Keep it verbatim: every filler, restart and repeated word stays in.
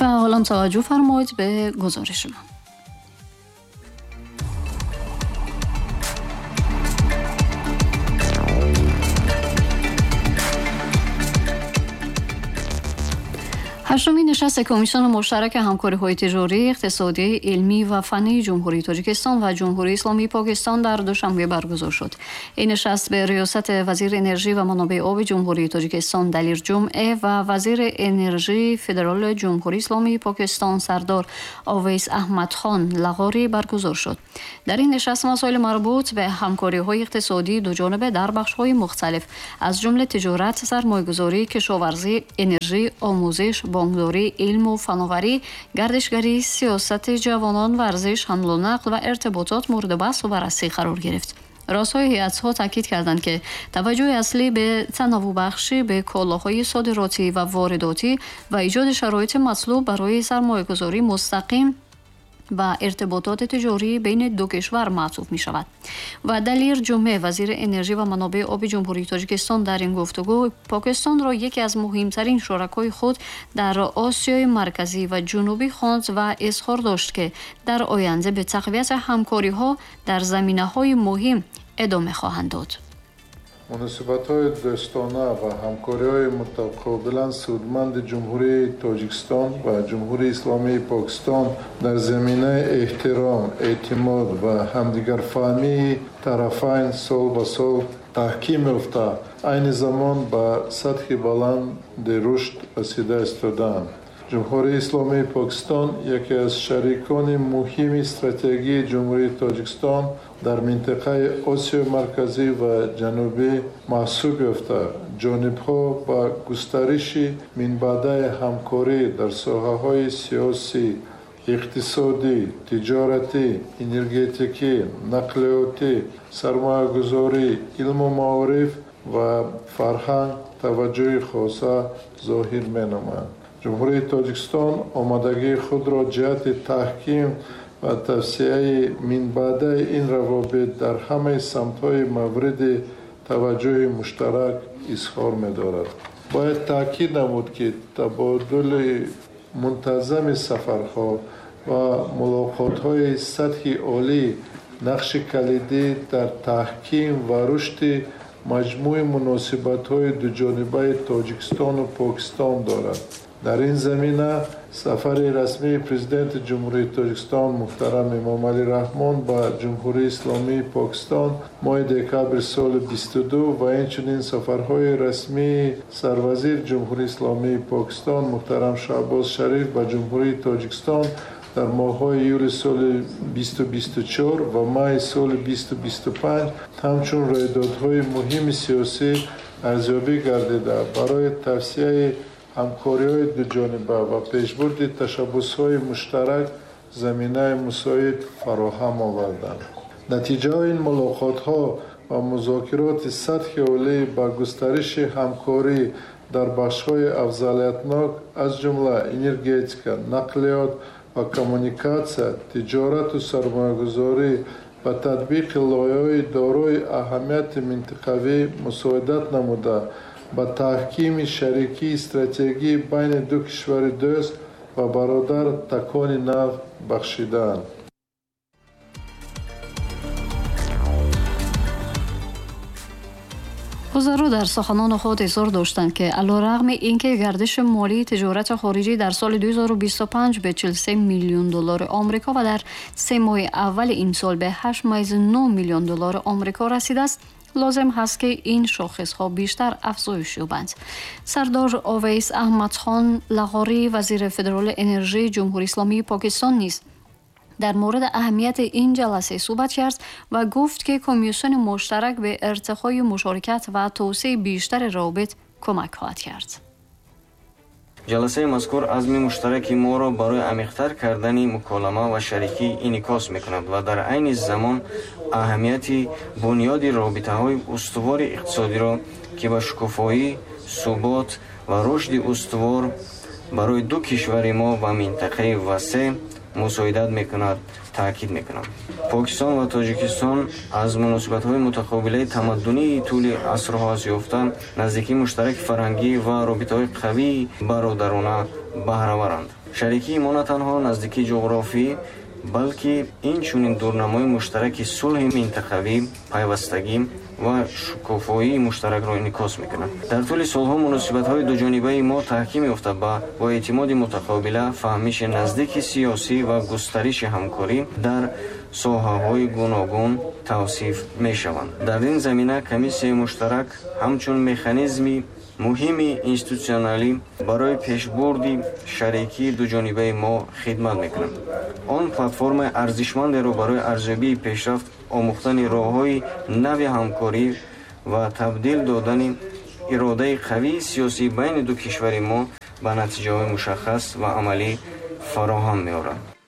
و حالا توجه فرمایید به گزارش ما. هشتمین نشست کمیسیون مشترک همکاری‌های تجاری، اقتصادی، علمی و فنی جمهوری تاجیکستان و جمهوری اسلامی پاکستان در دوشنبه برگزار شد. این نشست به ریاست وزیر انرژی و منابع آب جمهوری تاجیکستان دلیر جمعه و وزیر انرژی فدرال جمهوری اسلامی پاکستان سردار اویس احمد خان لغاری برگزار شد. در این نشست مسائل مربوط به همکاری‌های اقتصادی دو جانبه در بخش‌های مختلف از جمله تجارت، سرمایه‌گذاری، کشاورزی، انرژی، آموزش، بانکداری، علم و فناوری، گردشگری، سیاست جوانان، ورزش، حمل و نقل و ارتباطات مورد بحث و بررسی قرار گرفت. رؤسای هیئت‌ها تاکید کردند که توجه اصلی به تنوع بخشی به کالاهای صادراتی و وارداتی و ایجاد شرایط مطلوب برای سرمایه‌گذاری مستقیم و ارتباطات تجاری بین دو کشور معطوف می شود. و دلیر جمعه وزیر انرژی و منابع آب جمهوری تاجیکستان در این گفتگو پاکستان را یکی از مهمترین شرکای خود در آسیای مرکزی و جنوبی خواند و اظهار داشت که در آینده به تقویت همکاری ها در زمینه های مهم ادامه خواهند داد. مناسبت‌های دوستانه و همکاری‌های متقابلاً سودمند جمهوری تاجیکستان و جمهوری اسلامی پاکستان در زمینه احترام، اعتماد و همدیگرفهمی طرفین سال به سال تحکیم یافته، عین زمان به سطح بلند رشد رسیده استادند. جمهوری اسلامی پاکستان یکی از شریکان مهم استراتژیک جمهوری تاجیکستان در منطقه آسیای مرکزی و جنوبی محسوب یافته، جانب‌ها با گسترش منبعده همکاری در ساحه‌های سیاسی، اقتصادی، تجارتی، انرژتیکی، نقلیاتی، سرمایه‌گذاری، علم و معارف و فرهنگ توجه خاصه ظاهر می‌نمایند. جمهوری تاجیکستان آمادگی خود را جهت تحکیم و توسعه منبعده این روابط در همه سمت‌های مورد توجه مشترک اظهار می‌دارد. باید تاکید نمود که تبادل منتظم سفرها و ملاقات‌های سطح عالی نقش کلیدی در تحکیم و رشد مجموع مناسبت‌های دوجانبه تاجیکستان و پاکستان دارد. در این زمینه سفر رسمی پرزیدنت جمهوری تاجیکستان محترم امامعلی رحمان به جمهوری اسلامی پاکستان ماه دکابر سال بیست و دو و اینچنین سفرهای رسمی سروزیر جمهوری اسلامی پاکستان محترم شهباز شریف به جمهوری تاجیکستان در ماه‌های یولی سال بیست و بیست و چهار و مای سال بیست و بیست و پنج همچون رویدادهای مهم سیاسی ارزیابی گردیده برای توسعه همکاری‌های دوجانبه و پیشبرد تشبث‌های مشترک زمینه مساعد فراهم آوردند. نتیجه این ملاقات‌ها و مذاکرات سطح عالی با گسترش همکاری در بخش‌های افضلیتناک از جمله انرژتیکا، نقلیات و کمونیکاسیا، تجارت و سرمایه‌گذاری و تطبیق لایحه‌های دارای اهمیت منطقوی مساعدت نموده به تحکیم شریکی استراتژیکی بین دو کشور دوست و برادر تکان نو بخشیدند. وزرا در سخنان خود اظهار داشتند که علیرغم اینکه گردش مالی تجارت خارجی در سال دو هزار و بیست و پنج به چهل و سه میلیون دلار آمریکا و در سه ماه اول این سال به هشت ممیز نه میلیون دلار آمریکا رسیده است، لازم هست که این شاخص ها بیشتر افزایش یابند. سردار اویس احمد خان لغاری وزیر فدرال انرژی جمهوری اسلامی پاکستان نیز در مورد اهمیت این جلسه صحبت کرد و گفت که کمیسیون مشترک به ارتقای مشارکت و توسعه بیشتر روابط کمک خواهد کرد. جلسه مذکور عزم مشترک ما را برای عمیق‌تر کردن مکالمه و شریکی انعکاس می‌کند و در عین زمان اهمیت بنیاد رابطه‌های استوار اقتصادی را که به شکوفایی، ثبات و رشد استوار برای دو کشور ما و منطقه وسیع мусоидат мекунад, таъкид мекунам. Покистон ва Тоҷикистон аз муносибатҳои мутақобилаи тамаддунии тӯли асрҳо аст ёфта, наздикии муштараки фарҳангӣ ва робитаҳои қавии бародарона баҳраваранд. Шарикии мо на танҳо наздикии ҷуғрофӣ, балки инчунин дурнамои муштараки сулҳи минтақавӣ, пайвастагӣ ва шукуфоии муштаракро инъикос мекунад. Дар тӯли солҳо муносибатҳои дуҷонибаи мо таҳким ёфта, бо эътимоди мутақобила, фаҳмиши наздики сиёсӣ ва густариши ҳамкорӣ дар соҳаҳои гуногун тавсиф мешаванд. Дар ин замина комиссияи муштарак ҳамчун механизми муҳими институтсионалӣ барои пешбурди шарикии дуҷонибаи мо хидмат мекунад. Он платформаи арзишмандеро барои арзёбии пешрафт, омӯхтани роҳҳои нави ҳамкорӣ ва табдил додани иродаи қавии сиёсӣ байни ду кишвари мо ба натиҷаҳои мушаххас ва амалӣ фароҳам меорад.